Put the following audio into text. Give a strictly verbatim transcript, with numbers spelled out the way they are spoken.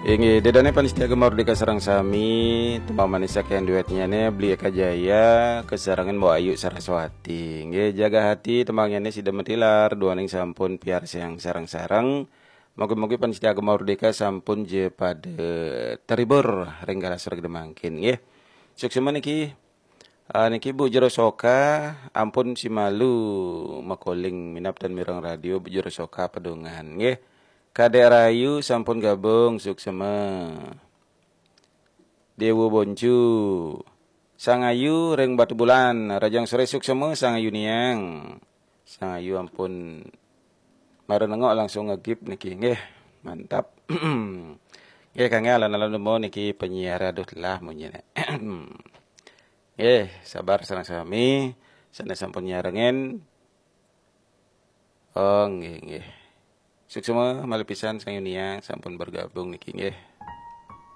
Inggih, dedane panitia Gema Merdeka sareng sami, tembang manis saking duetnya ne Beli Eka Jaya, kesarengan Mbok Ayu Saraswati. Inggih, jaga hati tembangnya ne sida metilar, duaning sampun piarsayang sareng-sareng. Mugi-mugi panitia Gema Merdeka sampun je pada terhibur ring galah sore mangkin, nggih. Suksma niki. Ah, niki Bu Jero Soka, ampun si malu makoling minab tan mireng radio Bu Jero Soka pedungan, nggih. Kadek Rayu sampun gabung, suksma. Dewa Boncu. Sang Ayu ring Batu Bulan, Rajang Sore suksma Sang Ayu niang. Sang Ayu ampun mara nengok langsung ngegip niki, nggih. Mantap. Nggih, kangge alon-alon nemu niki penyiar, aduh lah munyine. Nggih, sabar sareng sami, sane sampun nyarengin. Oh, nggih, nggih. Suksma malih pisan Sang Ayu niang sampun bergabung niki, nggih.